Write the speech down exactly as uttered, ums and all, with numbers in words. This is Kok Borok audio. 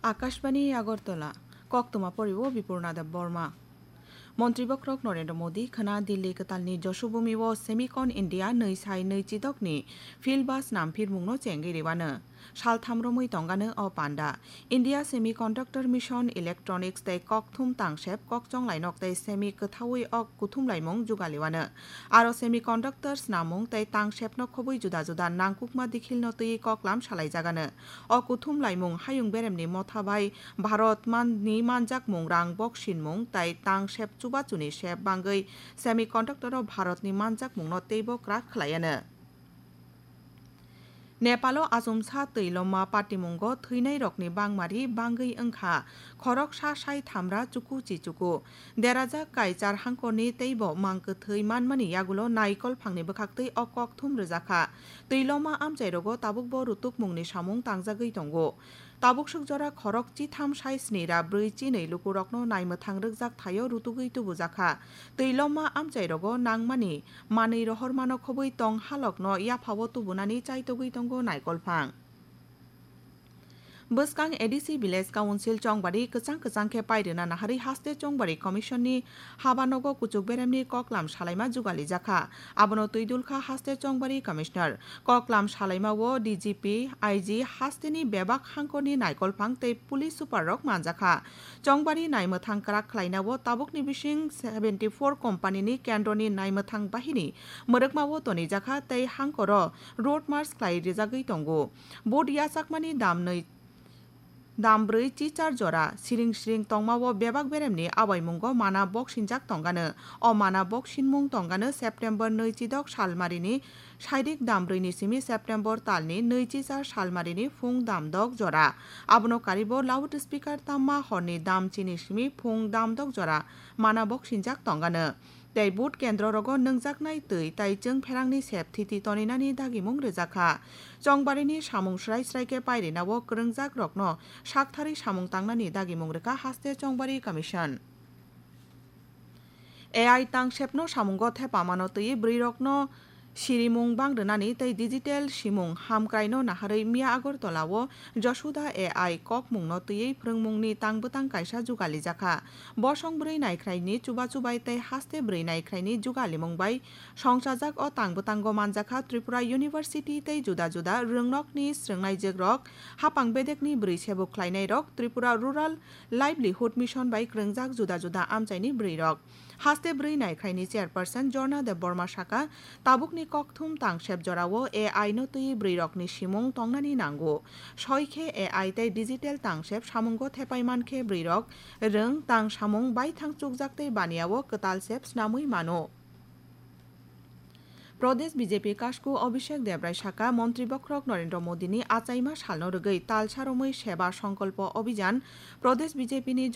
Akashbani Agartala, koktwma poriwo Bipurna Deb Borma. Montri Bokhorok Narendra Modi khwna Delhi kwtalni Joshubhumi o Semicon India nwi sai nwi chidokni field bus nam phirmungno chengwi rwano. Saltham romwi tongano o panda. India Semiconductor Mission, Electronics tei kokthum tangsep kokchong lainok tei semi kwthaui o kuthum laimung jugaliwano. Aro semiconductor snamung tei tangsepno khobwi juda juda nangkukma dikhilno twiwi koklam salaijagano. O kuthum laimung hayung beremni motha bai Bharat manni manjakmung rang boksinmung tei tangsep chubachuni sep bangwi semiconductor o Bharatni manjakmungno teibo kwrak khlaiano. Nepalo achomsa twiloma patimungo thwinairokni bangmari bangwi wngkha khoroksa sai thamra chuku chichuku. Derajak Kaichar hangkorni teibo mang kwthwi manmani yagulo naikol phangni bwkhaktwi o kokthum rwjakha. Twiloma amchairogo tabukbo rutukmungni samung tangjagwi tongo. Tabuk swk jora khorok chitham sai sni ra bwrwi chinwi lukurokno naimwthang rwkjak thaio rutugwi tubujakha. Twiloma amchairogo nangmani manwi rohormano khobwi tong halokno yaphao tubunani chaitogwi tongo naikolphang. Bwskang A D C Village Council Chongbari kwchang kwchang khe pairwna naharwi haste Chongbari Commission ni habanogo kuchuk beremni koklam salaima jugalijakha. Abono twidulkha haste Chongbari Commissioner. Koklam salaima o D G P, I G, hasteni bebak hangkorni naikolphang tei police super rok manjakha. Chongbari naimwthang kwrak khlaina o tabukni bising seventy four company ni kendroni naimwthang bahini mwrwkma o tonijakha tei hangkoro road march khlai rijagwi tongo. Vote yachakmani dam nwi dam bwrwi chichar jora siring siring tongmao bebak beremni abaimungo mana boksinjak tongano. O mana boksinmung tongano September nwi chidok salmarini sairik dam bwrwini simi September talni nwi chichar salmarini phung dam dok jora. Abono karibo loud speaker tamma horni dam chini simi phung dam dok jora mana boksinjak tongano. Tei vote kendro rogo nwngjaknai twi tai chwng pherangni sep thiti toninani dagimung rwjakha. Chongbarini samung srai srai khe pairina o kwrwngjak rokno saktharwi samung tangnani dagimung rwkha haste Chongbari Commission. A I tangsepno samungo thepamano twi bwrwirokno sirimung bang rwnani tei digital simung hamkraino naharwi miya Agartala o Josuda A I kokmungno twiwi phrwngmungni tang bwtang kaisa jugalijakha. Bosong bwrwi naikhraini chubachu bai tei haste bwrwi naikhraini jugalimung bai songchajak o tang bwtango manjakha Tripura University tei juda juda rwngnokni srwngnaijwkrok, hapang bedekni bwrwi sebuk khlainairok, Tripura Rural Livelihood Mission bai kwrwngjak juda juda amchaini bwrwirok. Haste bwrwi naikhraini chairperson Jorna Debbarma saka, tabukni kokthum tangsep jorao A I no twiwi bwrwirokni simung tongnani nango. Soi khe A I tei digital tangsep samungo thepai man khe bwrwirok rwng tang samung baithang chukjak tei baniya o kwtal sep snamwi mano. Pradesh B J P kasku Abhishek Debrai saka, Montri Bokhorok Narendra Modi ni achaima salno rwgwi talsa romwi Seba Sankalpa Abhijan Pradesh B J P ni